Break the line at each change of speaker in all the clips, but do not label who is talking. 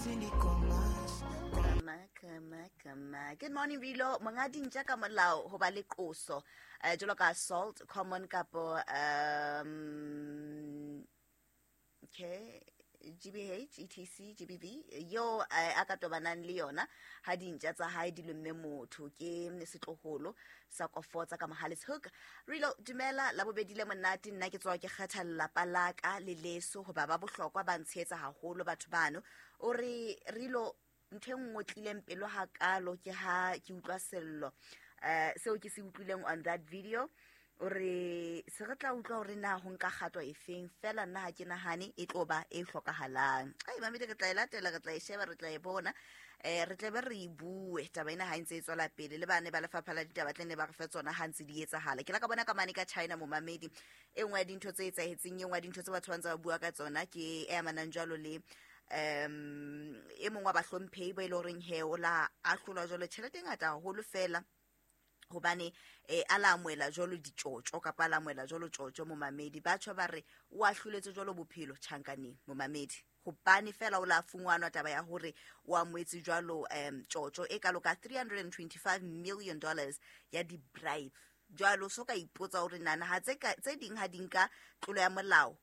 Kama, kama. Good morning, Rilo. Monga dintja ka molao ho ba le qoso. Jwalo ka assault, common kapo okay, GBH, ETC, GBV yo a ka tobanang le yona ha dintja tsa hae di lomme motho ke setloholo sa kofotsa ka Mohale's Hoek. Rilo, dumela la bobedi le monate, nna ke tswa ke kgetha lelapa la ka le leso hoba ba bohlokwa ba ntshehetsa haholo batho bano. O re Rilo, ntho e nngwe tlileng pelo hakalo ke ha ke utlwa sello seo ke se utlwileng on that video. O re se re tla utlwa hore na ho nka kgato efeng, fela nna ha ke nahane e tlo ba e hlokahalang. Ai mamedi, re tla e latela, re tla e sheba, re tla e bona, re tla be re e bue taba ena ha e ntse e tswela pele. Le bane ba lefapha la ditaba tle ne ba re fe tsona ha ntse di etsahala. Ke la ka bona ka mane ka China momamedi, e nngwe ya dintho tse etsahetseng, e nngwe ya dintho tse batho ba ntse ba bua ka tsona ke e amanang jwalo le e mongwe wa bahlomphehi ba e le horeng he o la ahlolwa jwalo tjhelete e ngata haholo fela hobane a la amohela jwalo ditjotjo kapa a la amohela jwalo tjotjo momamedi. Batjha ba re o ahloletse jwalo bophelo tjhankaneng momamedi, hobane fela o la fungwanwa taba ya hore o amohetse jwalo tjotjo e kalo ka $325 million ya di-bribe. Jwalo so ka ipotsa hore nana ha tse ding ha di nka tlolo ya molao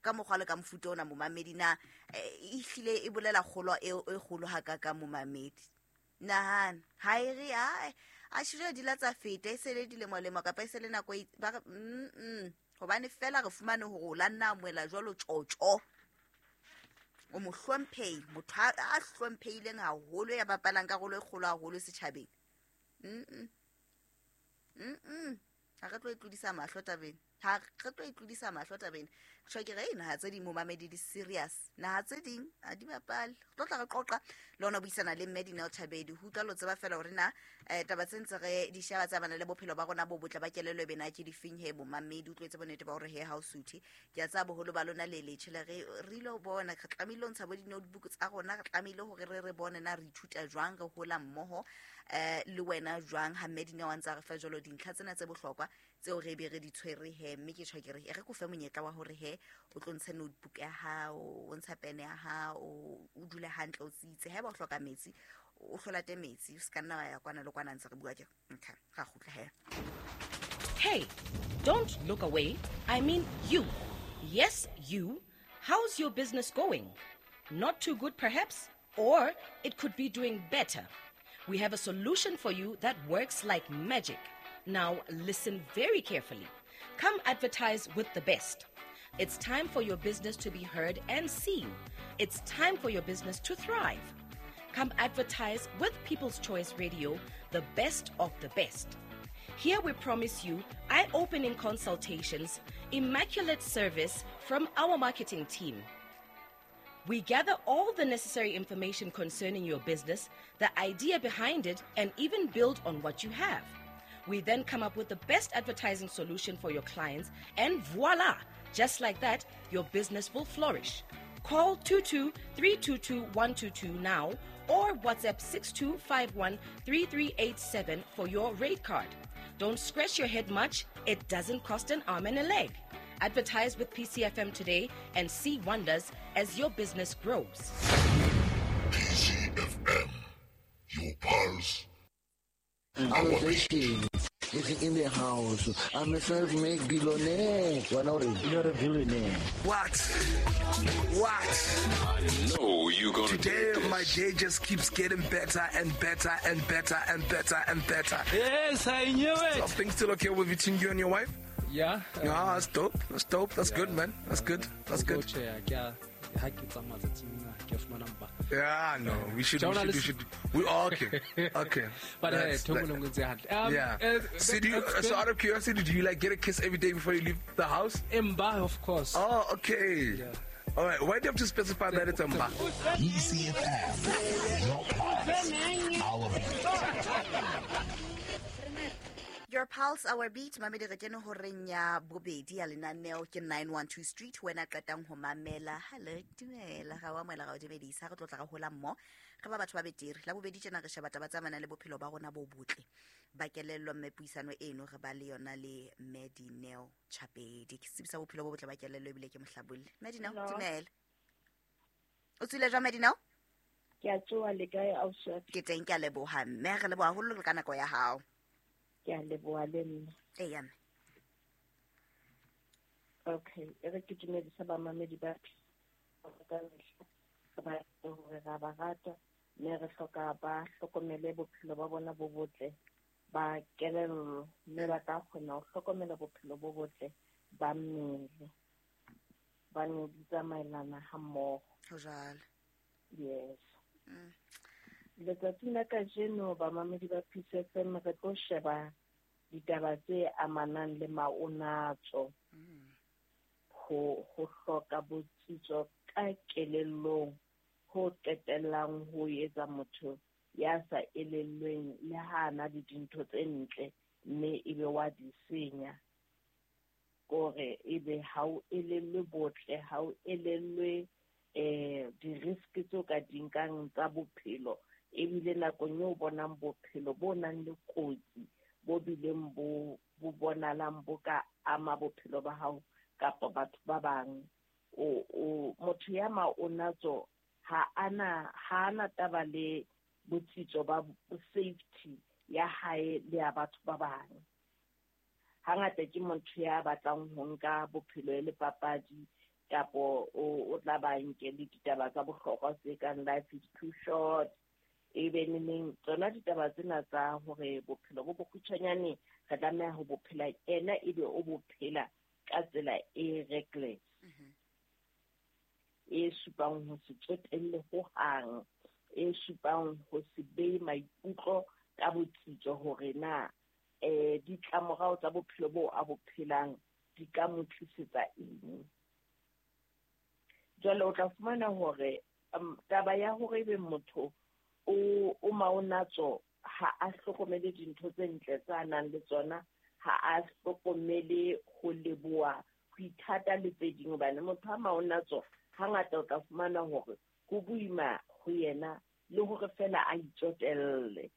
ka mokgwa le ka mofuta ona momamedi, na ehlile e bolela kgolo e kgolo hakakang momamedi. Nahana ha e re a shile di la tsa feta, e se le dilemo-lemo kapa e se le nako e ba re, hobane fela re fumane hore o la nna amohela jwalo tjotjo. O mohlomphehi, motho a hlomphehileng haholo, ya bapalang karolo e kgolo haholo setjhabeng. Ha re tlo e tlodisa mahlo tabeng. Ha re tlo e tlodisa mahlo tabeng. Tjho ke re, naha tse ding momamedi di serious. Naha tse ding ha di bapale. Re tlo tla re qoqa le hona buisana le mme Dineo Thabedi. Ho utlwa lo tseba fela hore na taba tse ntse re di sheba tsa bana le bophelo ba rona bo botle ba kelello e bena ke difeng he momamedi. Utlwetse bonnete ba hore he ha o suthe. Ke a tseba boholo ba lona le letjhe le re ilo bona, re tlamehile ho ntsha bo di-notebook tsa rona, re tlamehile hore re bone na re ithuta jwang, re hola mmoho le wena jwang ha mme Dineo a ntse a re fa jwalo dintlha tsena tse bohlokwa tseo re be re di tshwere he. Mme ke tjho ke re, e re ko fe monyetla wa hore he o tlo ntshe notebook ya hao, o ntsha pene ya hao, o dule hantle, o tsitse. Haeba o hloka metsi, o hlolate metsi, o se ka nna wa ya kwana le kwana ntse re bua ke. Okay, ra kgutla he.
Hey, don't look away. I mean you. Yes, you. How's your business going? Not too good perhaps? Or it could be doing better. We have a solution for you that works like magic. Now listen very carefully. Come advertise with the best. It's time for your business to be heard and seen. It's time for your business to thrive. Come advertise with People's Choice Radio, the best of the best. Here we promise you eye-opening consultations, immaculate service from our marketing team. We gather all the necessary information concerning your business, the idea behind it, and even build on what you have. We then come up with the best advertising solution for your clients, and voila! Just like that, your business will flourish. Call 22-322-122 now or WhatsApp 6251-3387 for your rate card. Don't scratch your head much. It doesn't cost an arm and a leg. Advertise with PCFM today and see wonders as your business grows.
PCFM, your pulse, our beat.
Is in the house. I'm a self-made billionaire.
You're a billionaire.
What? What?
I know you're gonna
Today,
do this.
My day just keeps getting better and better and better and better and better.
Yes, I knew it.
Are things still okay with between you and your wife?
Yeah.
Yeah, that's dope. That's dope. That's
yeah.
Good, man. That's good. That's good. Yeah, no, we should. We all okay. Okay.
But
yeah. So, so out of curiosity, do you like get a kiss every day before you leave the house?
Mba, of course.
Oh, okay.
Yeah.
All right. Why do you have to specify that it's Mba?
ECFM, your pulse, our beat.
Your pulse, our beat. Mamedi re kene horeng ya bobedi ya lenaneo ke 912 Street. Wena qetang ho mamela. Hello, dumela. Ga wa moela ga o dumedisa. Re tlotla ga hola mmo. Re ba batho ba betere. La bobedi tjena re sheba taba tsa mana le bophelo ba rona bo botle. Ba kelello mme puisano eno re ba le yona le mme Dineo Chapedi. Ke tsebisa bophelo bo botle ba kelello ebile ke mohlabolli. Mme Dineo, dumela. O tswile jwang Madinao?
Ke a tsoha le kae ausi?
Ke teng, ke a leboha mme, re leboha haholo le ka nako ya hao.
Ke a leboha le nna.
Eya mme.
Okay, e re ke dumedisa bamamedi ba ka mehla, ba hore ra ba rata mme re hloka ba hlokomele bophelo ba bona bo botle ba kelello, mme ba tla kgona ho hlokomela bophelo bo botle ba mmele, ba ne di tsamaelana ha mmoho.
Ho jwalo.
Yes. Letsatsing la kajeno bamamedi ba Peace FM re tlo sheba ditaba tse amanang le maonatso, ho hloka botsitso ka kelellong ho qetellang ho etsa motho ya sa elellweng le ha ana le dintho tse ntle mme ebe wa di senya. Kore ebe ha o elellwe botle, ha o elellwe di-risk tseo ka di nkang tsa bophelo, ebile nakong eo bonang bophelo bo nang le kotsi bo bileng bo bonalang bo ka ama bophelo ba hao kapa batho ba bang. O motho ya maonatso ha ana taba le botsitso ba safety ya hae le ya batho ba bang. Hangata ke motho ya batlang ho nka bophelo e le papadi, kapo o tla ba nke le ditaba tsa bohlokwa tse kang life is too short, ebe neneng tsona ditaba tsena tsa hore bophelo bo bokgutshwanyane re tlameha ho bophela, ena ebe o bophela ka tsela e reckless, e supang ho se tsotelle hohang, e supang ho se behe maikutlo ka botsitso hore na ditlamorao tsa bophelo bo a bo phelang di ka mo tlisetsa eng. Jwale o tla fumana hore taba ya hore ebe motho o maonatso ha a hlokomele dintho tse ntle tsa nang le tsona, ha a hlokomele ho leboha, ho ithata le tse ding, hobane motho a maonatso hangata o tla fumana hore ho boima ho yena le hore fela a itsotelle.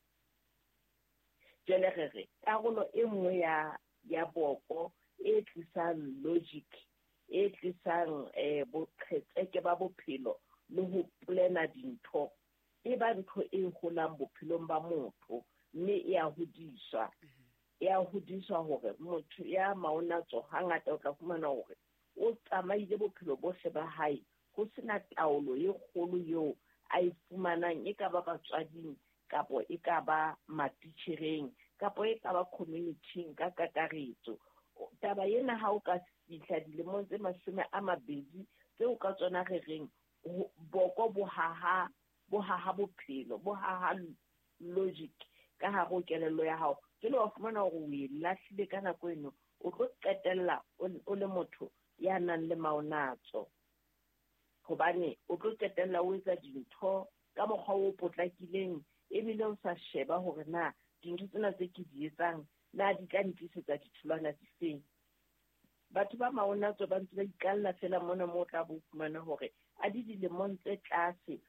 Jwale re re karolo e nngwe ya boko e tlisang logic, e tlisang boqhetseke ba bophelo le ho plana dintho, e ba ntho e holang bophelong ba motho mme e a hodiswa. E a hodiswa hore motho ya maonatso hangata o tla fumana hore o tsamaile bophelo bohle ba hae ho sena taolo e kgolo eo a e fumanang, e ka ba batswading kapo e ka ba matitjhereng kapo e ka ba community-ing ka kakaretso. Taba ena ha o ka fihla dilemong tse 20 tseo ka tsona re reng boko bo haha bophelo, bo haha logic ka hare ho kelello ya hao, jwale wa fumana hore o e lahlile ka nako eno, o tlo qetella o le motho ya nang le maonatso, hobane o tlo qetella o etsa dintho ka mokgwa o potlakileng, ebile o sa sheba hore na dintho tsena tse ke di etsang na di tla ntlisetsa ditholwana difeng. Batho ba maonatso ba ntse ba ikalla fela mona moo o tla bo fumana hore a di dilemong tse tlase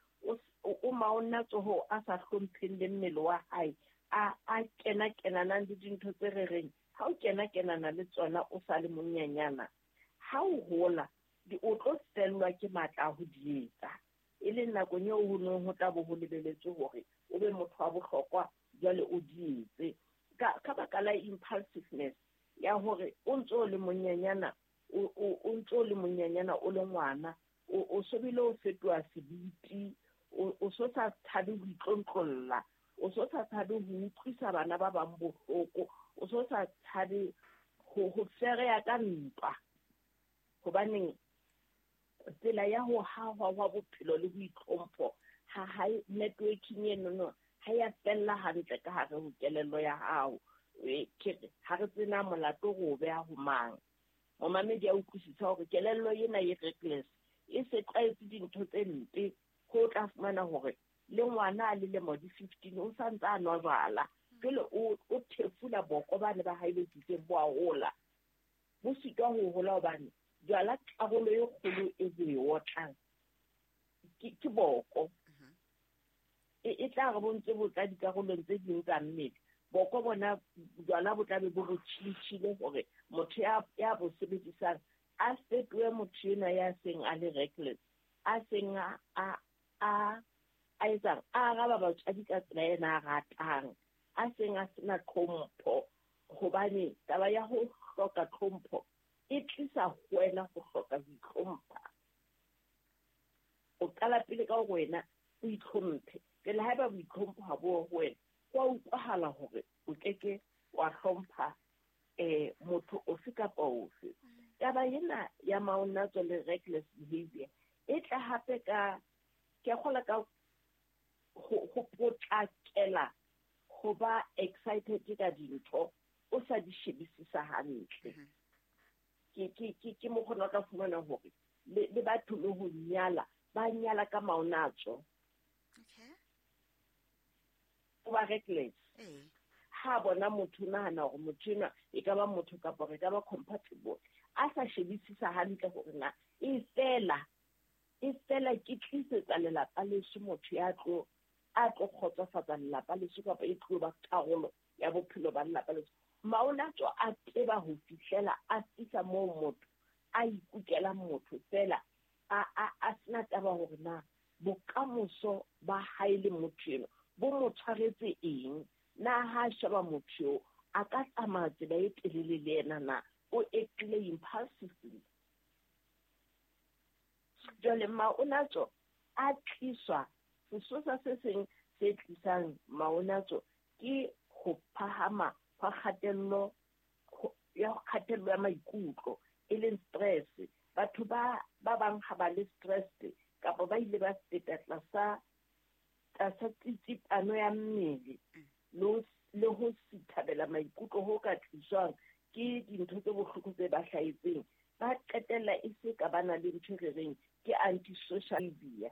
o maonatso ho a sa hlompheng le mmele wa hae, a kena-kenanang le dintho tse re reng ha o kena-kenana le tsona o sa le monyenyana, ha o hola o tlo fellwa ke matla a ho di etsa, e leng nakong eo ho neng ho tla bo ho lebeletswe hore o be motho wa bohlokwa, jwale o di etse. Ka baka la impulsiveness ya hore o ntso o le monyenyana, o ntso o le monyenyana o le ngwana, o so bile o fetoha sebiti, o so sa tshabe ho itlontlolla, o so sa tshabe ho utlwisa bana ba bang bohloko, o so sa tshabe ho fereya ka ntwa, hobaneng tsela ya ho hahwa wa bophelo le boitlhompho ha hae networking eno ha ya fella hantle ka hare ho kelello ya hao. Ke re ha re tsena molato ro beha ho mang. Momamedi a utlwisisa hore kelello ena e reckless, e se tlwaetse dintho tse mpe, ho tla fumana hore le ngwana a lilemo di 15 o sa ntse a nwa jwala, jwale o thefula boko bane ba hae bo tsitseng bo a hola, bo sitwa ho hola hobane jwala karolo e kgolo e bo e otlang ke boko. E tla re bo ntse bo tla dikarolong tse ding tsa mmele, boko bona jwala bo tlabe bo tjhintjhile hore motho ya bo sebedisang a fetohe motho enwa ya seng a le reckless. a seng a etsang a araba batswadi ka tsela ena a ratang, a seng a sena tlhompho, hobane taba ya ho hloka tlhompho e tlisa ho wena ho hloka ho itlhompha. O qala pele ka hore wena o itlhomphe. Pele haeba boitlhompho ha bo ho wena, ho a utlwahala hore o keke wa hlompha motho ofe kapa ofe. Taba ena ya maonatso le reckless behavior e tla hape ka ke kgola ka ho potlakela ho ba excited ka dintho o sa di shebisisa hantle. Ke mokgona o tla fumana hore le batho le ho nyala ba nyala ka maonatso.
Okay.
O ba reckless. Ha bona motho nahana hore motho enwa e ka ba motho kapa re ka ba compatible, a sa shebisisa hantle hore na e fela ke tlisetsa lelapa leso motho ya tlo a tlo kgotsofatsa lelapa leso kapa e tlo ba karolo ya bophelo ba lelapa leso. Maonatso a teba ho fihlela a fihla moo motho a ikukela motho fela a sena taba hore na bokamoso ba hae le motho eno bo mo tshwaretse eng, na ha sheba motho eo a ka tsamaya tsela e telele le yena na o actile impulsively. Jwale maonatso a tliswa, sesosa se seng se tlisang maonatso ke ho phahama hwa kgatello ya maikutlo, e leng stress. Batho ba bang ha ba le stress kapa ba ile ba feta tlasa tsitsipano ya mmele le ho sithabela maikutlo ho ka tliswang ke dintho tse bohloko tse ba hlahetseng, ba qetella e se ka ba na le ntho e re reng ke antisocial behavior.